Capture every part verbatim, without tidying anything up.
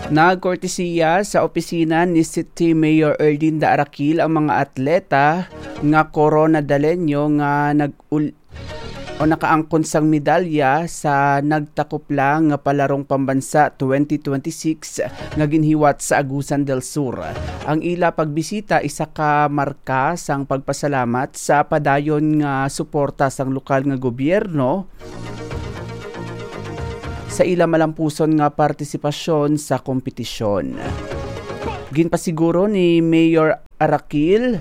Nagkortesiya sa opisina ni City Mayor Erlinda Araquil ang mga atleta nga Corona Dalenyo nga nag-ul-, o nakaangkon sang medalya sa nagtakop lang nga Palarong Pambansa twenty twenty-six nga ginhiwat sa Agusan del Sur. Ang ila pagbisita isa ka marka sang pagpasalamat sa padayon nga suporta sang lokal nga gobyerno sa ila malampuson nga partisipasyon sa kompetisyon. Ginpasiguro ni Mayor Araquil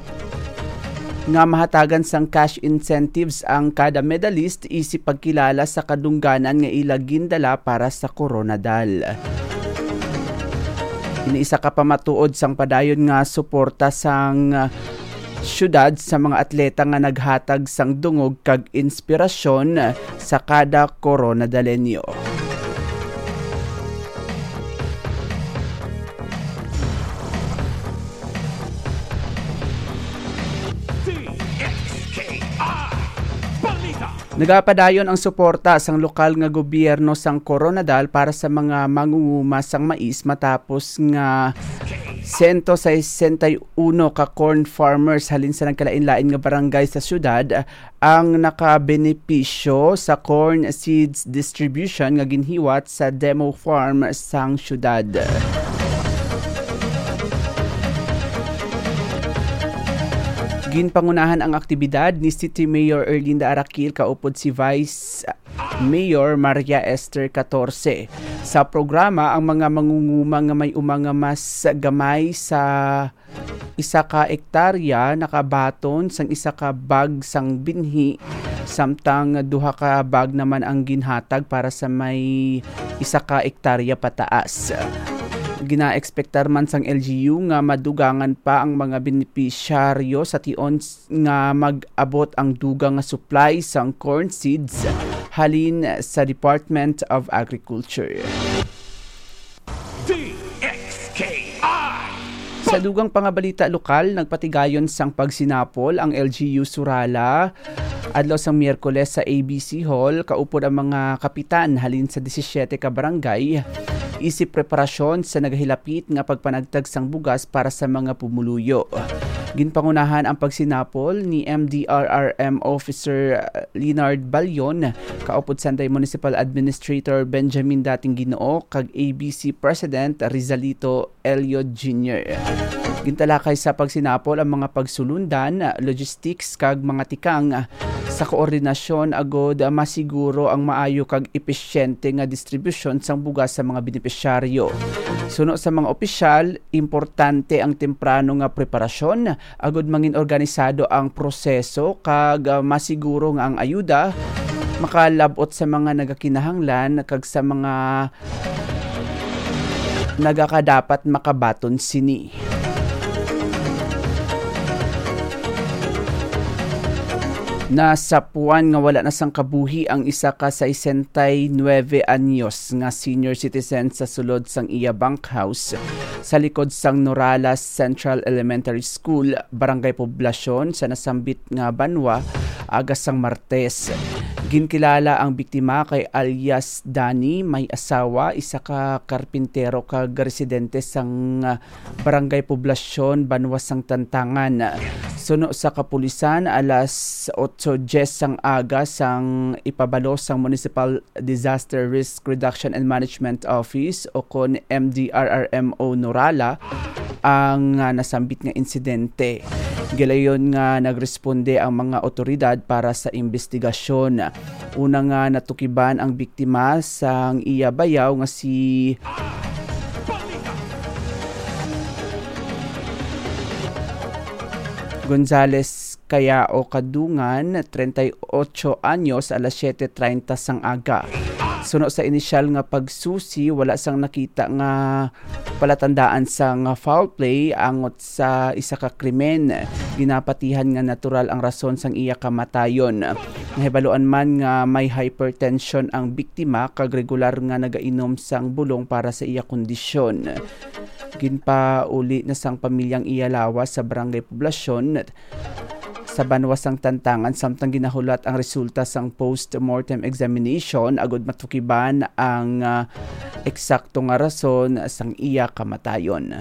nga mahatagan sang cash incentives ang kada medalist isip pagkilala sa kadungganan nga ila gindala para sa Coronadal. Ini isa ka pamatuod sang padayon nga suporta sang syudad sa mga atleta nga naghatag sang dungog kag inspirasyon sa kada Coronadalenyo. D X K I Balita. Nagapadayon ang suporta sang lokal nga gobyerno sang Coronadal para sa mga mangunguma sang mais matapos nga sento sesenta y uno ka corn farmers halin sa nagkalain-lain nga barangay sa syudad ang nakabenepisyo sa corn seeds distribution nga ginhiwat sa demo farm sang syudad. Ginpangunahan ang aktibidad ni City Mayor Erlinda Araquil kaupod si Vice Mayor Maria Esther Catorce. Sa programa, ang mga mangunguma nga may uma nga mas gamay sa isa ka ektarya nakabaton sang isa ka bag sang binhi, samtang duha ka bag naman ang ginhatag para sa may isa ka ektarya pataas. Ginaekspektar man sang L G U nga madugangan pa ang mga benepisyaryo sa tion s-, nga mag-abot ang dugang nga supply sang corn seeds halin sa Department of Agriculture. D X K I. Sa dugang pangabalita lokal, nagpatigayon sang pagsinapol ang L G U Surala adlaw sang Miyerkules sa A B C Hall, kaupod ang mga kapitan halin sa disisiete ka barangay, isip preparasyon sa nagahilapit nga pagpanagtag sang bugas para sa mga pumuluyo. Ginpangunahan ang pagsinapol ni M D R R M Officer Leonard Balyon, kaupod Sanday Municipal Administrator Benjamin Dating Ginoo, kag A B C President Rizalito Elliot Junior. Gintalakay sa pagsinapol ang mga pagsulundan, logistics, kag mga tikang sa koordinasyon agud masiguro ang maayo kag episyente nga distribusyon sang bugas sa mga benepisyaryo. Suno sa mga opisyal, importante ang temprano nga preparasyon agud mangin organisado ang proseso kag, ah, masiguro nga ang ayuda makalab-ot sa mga nagakinahanglan kag sa mga nagakadapat makabaton sini. Nasapuan nga wala na sang kabuhi ang isa ka sesenta y nuebe anyos nga senior citizen sa sulod sang iya bunkhouse sa likod sang Norala Central Elementary School, Barangay Poblacion, sa nasambit nga banwa, aga sang Martes. Ginkilala ang biktima kay alias Danny, may asawa, isa ka karpintero kag residente sang, ah, Barangay Poblacion, banwa sang Tantangan. Suno sa kapulisan, alas otso diyes sang aga sang ipabalo sang Municipal Disaster Risk Reduction and Management Office, o kon M D R R M O Norala, ang, ah, nasambit nga insidente. Gilayon nga nagresponde ang mga otoridad para sa imbestigasyon. Una nga natukiban ang biktima sang iya bayaw nga si Gonzales Cayao Kadungan, treinta y ocho anyos, alas siete treinta sang aga. Suno sa inisyal nga pagsusi, wala sang nakita nga palatandaan sang foul play angot sa isa ka krimen. Ginapatihan nga natural ang rason sang iya kamatayon. Nahibaluan man nga may hypertension ang biktima kag regular nga nagainom sang bulong para sa iya kondisyon. Ginpauli na sang pamilyang iya lawas sa Barangay Poblacion sa banwa sang Tantangan samtang ginahulat ang resulta sang post-mortem examination agud matukiban ang, ah, eksakto nga rason sang iya kamatayon.